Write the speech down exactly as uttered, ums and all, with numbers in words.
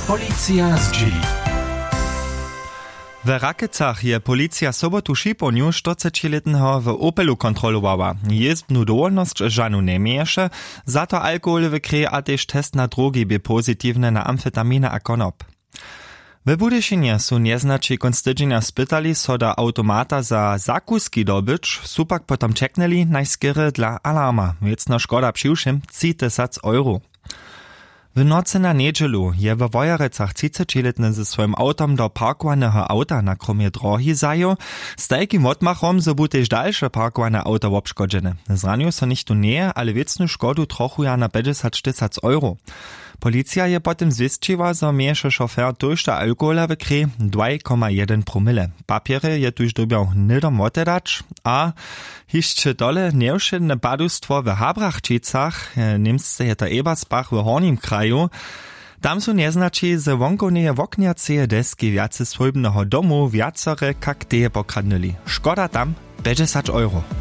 Policija zdźěli. We Rakecach je policija sobotu w šipołnju štyrcećilětneho w Opelu kontrolowała. Jězbnu dowolnosć žanu njeměješe, za to alkohol w krěji a tež test na drogi bě pozitiwny na amfetaminy a konop. We Budyšinje su njeznaći kónc tydźenja spytali, so do awtomata za zakuski dobyć, su pak potom ćeknyli najskerje dla alarma. Wěcna škoda přiwšěm tři tysac euro. W nocy na njedźelu je we Wojerecach třicećilětny ze swojim awtom do parkowaneho awta na kromje drohi zajěł, z tajkim wotmachom, zo bu tež dalše parkowane awta wobškodźene. Zranił so nichtó njeje, ale wěcnu škodu trochu jana pjećdźesać tysac euro. Policija je po tym zwěsćiła, zo měješe šofer tójšto alkohola w krěji, dwaj koma jedyn promile. Papjerje je tuž dyrbjał hnydom wotedać. A hišće tole njewšědne padustwo w Habrachčicach, e, němsce je to Ebersbach w Hornim kraju. Tam su njeznaći z wonkowneje woknjaceje deski wjace swójbneho domu wjacore kakteje pokradnyli. Škoda tam pjećdźesać euro.